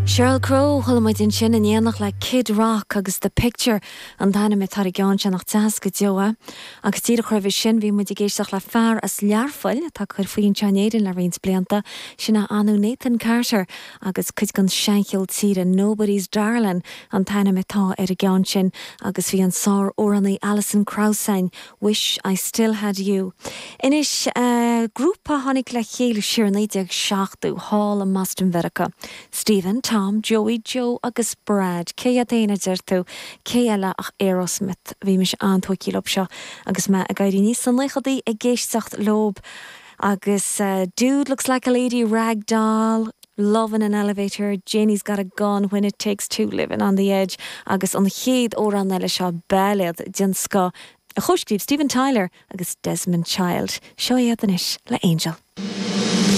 Sheryl Crow, Chuala muid ansin in éineacht le Kid Rock agus The Picture an t-ainm atá ar an gceann sin, nach deas go deo é. Agus díreach roimhe sin bhí muid ag éisteacht le fear as Learpholl atá ag cur faoi anseo in Éirinn le roinnt blianta, sin é Anu Nathan Carter agus cuid den seancheol tíre, Nobody's Darlin' an t-ainm atá ar an gceann sin agus bhí an sár-amhránaí Alison Krauss ann Wish I Still Had You. Anois, grúpa a tháinig le chéile siar i 1970 thall i mBoston Mheiriceá. Steven, Tom, Joey, Joe agus Brad. Cé hiad féin a deir tú? Cé eile ach Aerosmith. Bhí mise an-tógtha leob seo agus mé ag éirí aníos sna naochadaí ag éisteacht leob agus Dude Looks Like a Lady, Rag Doll, Love in an Elevator, Janie's Got a Gun, When It Takes Two, Livin' on the Edge agus an chéad amhrán eile seo, bailéad den scoth a chomhscríobh Steven Tyler agus Desmond Child. Seo iad anois le Angel.